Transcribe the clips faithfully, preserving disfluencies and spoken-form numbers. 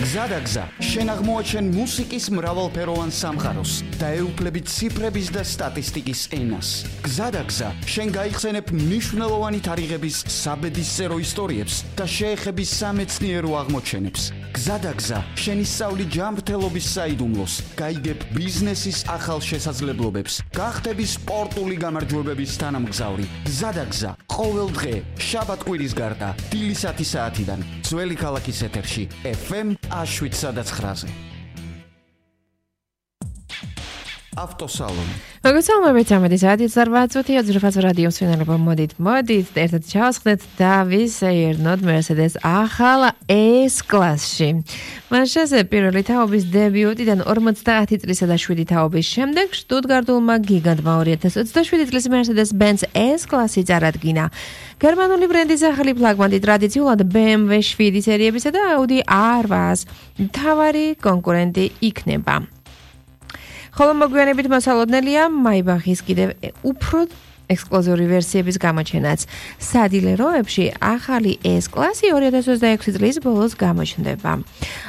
გზადაგზა შენ აღმოაჩენ მუსიკის მრავალფეროვან სამყაროს და ეუფლები ციფრების და სტატისტიკის ენას. გზადაგზა შენ გაიხსენებ მნიშვნელოვანი თარიღების საბედისწერო ისტორიებს და შეეხები სამეცნიერო აღმოჩენებს. გზადაგზა შენ ისწავლი ჯანმრთელობის საიდუმლოს, გაიგებ ბიზნესის ახალ შესაძლებლობებს, გახდები სპორტული გამარჯვებების თანამგზავრი. გზადაგზა ყოველ დღე შაბათ-კვირის გარდა დილის ათი საათიდან ძველი ქალაქის ეთერში ეფ ემ შვიდ ცხრაზე. ავტოსალონი. მოგესალმებით სამედი საათი ოცდაოთხ წუთი ოძრფაც რადიო მსვენელობა მოდით მოდით ერთად ჩავსხდეთ და ვისეირნოთ Mercedes ახალ S-კლასში. მან შეზე პირველი თაობის დებიუტიდან ორმოცდაათი წლისა და შვიდი თაობის შემდეგ შტუტგარტულმა გიგანტმა ორი ათას ოცდაშვიდი წლის Mercedes-Benz S-კლასი წარადგინა. გერმანული ბრენდის ახალი ფლაგმანი ტრადიციულად B M W შვიდი სერიებისა და Audi R ათას მთავარი კონკურენტი იქნება. ხოლო მოგვიანებით მოსალოდნელია Maybachის კიდევ უფრო ექსკლუზიური ვერსიების გამოჩენაც. სადილეროებში ახალი S-კლასი ორი ათას ოცდაექვსი წლის ბოლოს გამოჩნდება.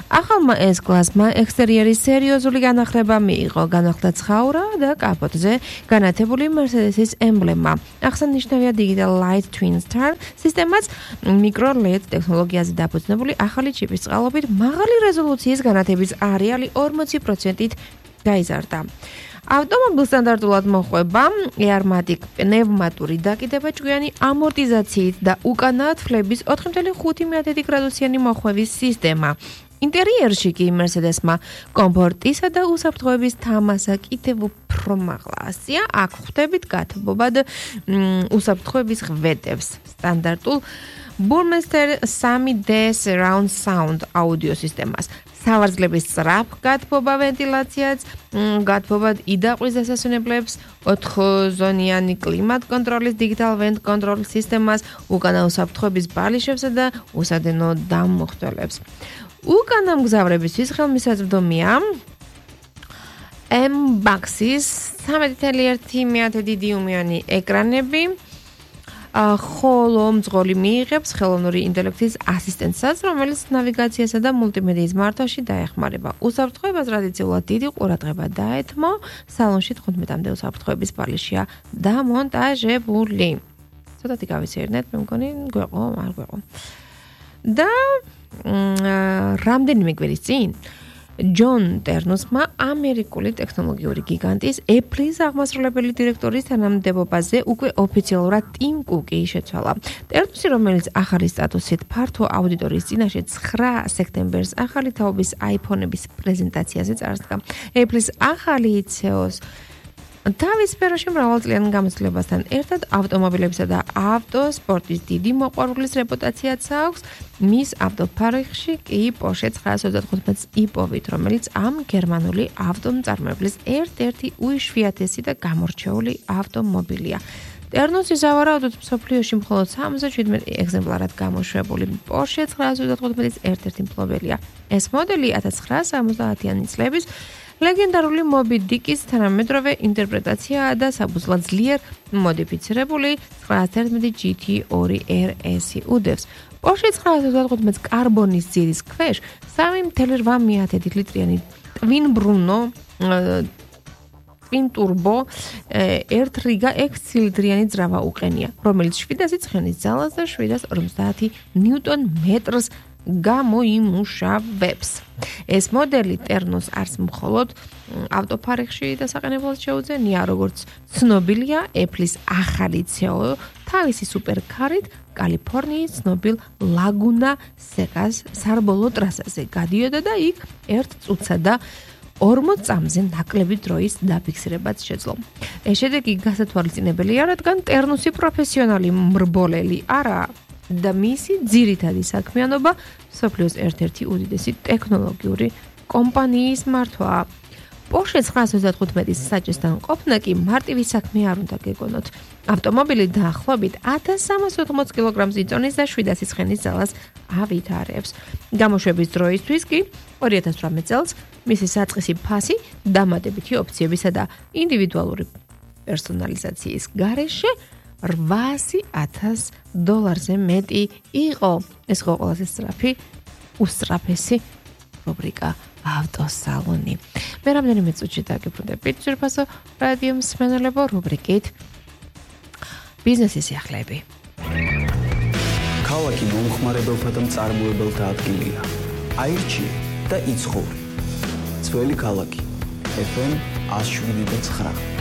ახალმა S-კლასმა ექსტერიერის სერიოზული განახლება მიიღო, განახლდა ცხაურა და კაპოტზე განათებული Mercedes-ის ემბლემა. აღსანიშნავია Digital Light Twin Star სისტემაც მიკრო ლედ ტექნოლოგიაზე დაფუძნებული ახალი ჩიპის წყალობით მაღალი რეზოლუციის განათების არეალი ორმოცი პროცენტით გაიზარდა. ავტომობილს სტანდარტულად მოხვება Airmatic პნევმატური დაკიდება ჭკვიანი ამორტიზაციით და უკანა თვლების ოთხი კoma ხუთი გრადუსიანი მოხვევის სისტემა. ინტერიერში კი Mercedes-მა კომფორტისა და უსაფრთხოების თამასა კიდევ უფრო მაღლა ასია. აქ ხვდებით გათბობად უსაფრთხოების ღვედებს. სტანდარტულ Burmester სამი D Surround Sound აუდიო სისტემას. სავარძლების სწრაფ გათბობა ვენტილაციაც, გათბობად იდაყვის დასასვენებლებს, ოთხზონიანი კლიმატ კონტროლის Digital Vent Control სისტემას, უკანა უსაფრთხოების ბალიშებსა და უსადენო დამმოხტველებს. უკანა მგზავრებისთვის ხელმისაწვდომია M-Baxis ცამეტი კoma ერთი დიუმიანი ეკრანები, ხოლო მძღოლი მიიღებს ხელოვნური ინტელექტის ასისტენტსაც, რომელიც ნავიგაციასა და მულტიმედიის მართვაში დაეხმარება. უსაფრთხოებას ტრადიციულად დიდი ყურადღება დაეთმო, სალონში თხუთმეტამდე უსაფრთხოების ბალიშია დამონტაჟებული. ცოტათი გავისეირნეთ, მე მგონი გვეყო, არ გვეყო. და რამდენიმე კვირის წინ ჯონ ტერნუსმა ამერიკული ტექნოლოგიური გიგანტის Apple-ის აღმასრულებელი დირექტორის თანამდებობაზე უკვე ოფიციალურად ტიმ კუკი შეცვალა. ტერნუსი, რომელიც ახალი სტატუსით ფართო აუდიტორიის წინაშე ცხრა სექტემბერს ახალი თაობის iPhone-ების პრეზენტაციაზე წარსდგა. Apple-ის ახალი ი ცი ი-ს თავის სფეროში მრავალწლიან გამოცდილებასთან ერთად ავტომობილებისა და ავტოსპორტის დიდი მოყვარულის რეპუტაციაც აქვს. მის ავტოფარეხში კი Porsche ცხრაას ოცდათხუთმეტს იპოვით, რომელიც ამ გერმანული ავტომწარმოებლის ერთ-ერთი უიშვიათესი და გამორჩეული ავტომობილია. ტერნუსი სავარაუდოდ მსოფლიოში მხოლოდ სამოცდაშვიდმეტი ეგზემპლარად გამოშვებული Porsche ცხრაას ოცდათხუთმეტის ერთ-ერთი მფლობელია. ეს მოდელი ათას ცხრაასა სამოცდაათიანი წლების ლეგენდარული Moby Dick-ის თანამედროვე ინტერპრეტაციაა და საბუზლად ძლიერ მოდიფიცირებული ცხრაას თერთმეტი ჯი თი ორი R S-ი უდევს. Porsche ცხრაას ოცდათხუთმეტს კარბონის ძირის ქვეშ სამი კoma რვა ლიტრიანი Twin Bruno Twin Turbo ერთ რიგა ექვს ცილინდრიანი ძრავა უყენია, რომელიც შვიდასი ცხენის ძალას და შვიდას ორმოცდაათი ნიუტონ მეტრს გამოიმუშავებს. ეს მოდელი ტერნოს არც მხოლოდ ავტოფარეხში დასაყენებლად შეუძენია, როგორც ცნობილია Apple-ის ახალი ი ცი ი თავისი სუპერქარით კალიფორნიის ცნობილ ლაგუნა სეკას სარბოლო ტრასაზე გადიოდა და იქ ერთ წუთსა და ორმოც წამზე ნაკლები დროის დაფიქსირებაც შეძლო. ეს შედეგი გასათვალისწინებელია, რადგან ტერნუსი პროფესიონალი მრბოლელი არაა და მისი ძირითადი საქმიანობა მსოფლიოს ერთ-ერთი უდიდესი ტექნოლოგიური კომპანიის მართვაა. Porsche ცხრაას ოცდათხუთმეტის საჭესთან ყოფნა კი მარტივი საქმე არ უნდა გეგონოთ. ავტომობილი დაახლოებით ათას სამას ოთხმოც კილოგრამს იწონის და შვიდასი ცხენის ძალას ავითარებს. გამოშვების დროისთვის კი ორი ათას ოცდაოთხ წელს მისი საწყისი ფასი დამატებითი ოფციებისა და ინდივიდუალური პერსონალიზაციის გარეშე რვაასი ათას დოლარზე მეტი იყო. ეს იყო ყველაზე სწრაფი, უსწრაფესი რუბრიკა ავტოსალონი. მე რამდენიმე წუთში დაგიბრუნდებით ძვირფასო რადიო მსმენელებო რუბრიკით ბიზნესის სიახლეები. ქალაქი მომხმარებელთა და მწარმოებელთა ადგილია. აირჩიე და იცხოვრი. ძველი ქალაქი. ეფ ემ one oh seven point nine